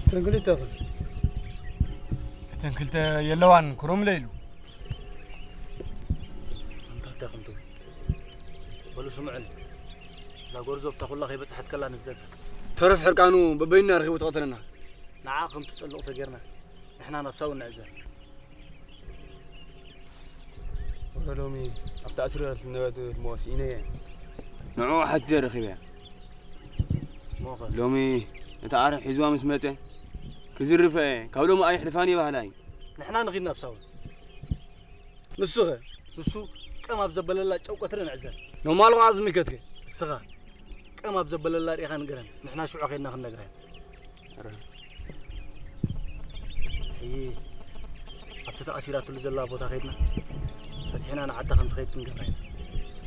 እተን ክልተ ኸ? እተን ክልተ የለዋን፣ ክሮምለ ኢሉ። ኣንታ እንታይ ኹም ትብሉ? በሉ ስምዑኒ። እዛ ጎርዞ ኣብታ ኩላ ከይበጽሐት ከላ ንስደዳ። ተረፍ ሕርቃኑ በበይንና ረኺቡ ተቐተለና። ንዓ ከም ትጸልቕ ተጌርና ንሕና ናብ ሳውን ንዕዘር። ወረ ሎሚ ኣብታ ኣስሪረል ነበረት ሞስ ኢነየ። ንዕኡ ሓቲተ ረኺበያ። ሞኸ? ሎሚ ነታ ዓረ ሒዝዋ ምስ መጸ ክዝርፈ ካብ ሎሚ ኣይሕልፋን እየ ባህላ እዩ። ንሕና ንኺድ ናብ ሳውን። ንሱኸ? ንሱ ቀም ኣብ ዘበለላ ጨው ቀትሪ ንዕዘር። ኖማል ኸዓ ዝምልከትከ? እስኻ ቀም ኣብ ዘበለላ ርኢኻ ንገረን። ንሕና ሽዑ ኸይድና ክንነግራ ኢና። ሕይ ኣብቲ ተኣሲራትሉ ዘላ ቦታ ኸይድና ፈትሒና ንዓዳ ከም ትኸይድ ክንገብራ ኢና።